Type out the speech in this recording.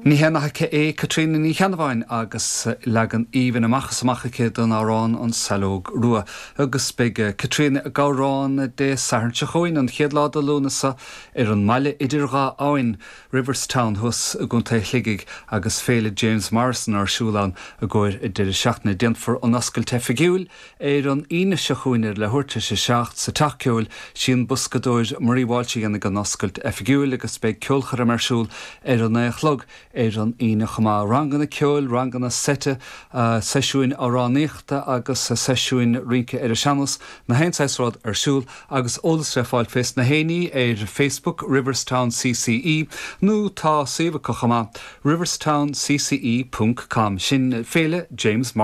Ní haon nath aici é Caitríona Ní Cheannabháin agus leagan aoibhinn amach is amach aici den amhrán An Saileog Rua. Agus beidh Caitríona ag amhrán Dé Sathairn seo chugainn, an chéad lá de Lúnasa, ar an mbaile idir dhá abhainn, Riverstown thuas i gContae Shligigh agus Féile James Morrison ar siúl ann i gcomhair an deireadh seachtaine. Déanfar an oscailt oifigiúil Ar an Aoine seo chugainn ar leathuair tar éis a 7 sa Teach Ceoil, sí an boscadóir Marie Walsh a dhéanfaidh an oscailt oifigiúil agus beidh ceolchoirm ar siúl ar a naoi a chlog ar an Aoine chomh maith. Ranganna ceoil, ranganna seite, seisiúin amhránaíochta agus seisiúin rince ar an sean-nós, na haon saghas rud ar siúl agus eolas le fáil fés na haon ní ar Facebook Riverstown CCE nó tá suíomh acu chomh maith, riverstowncce ponc com. Sin Féile James Morrison.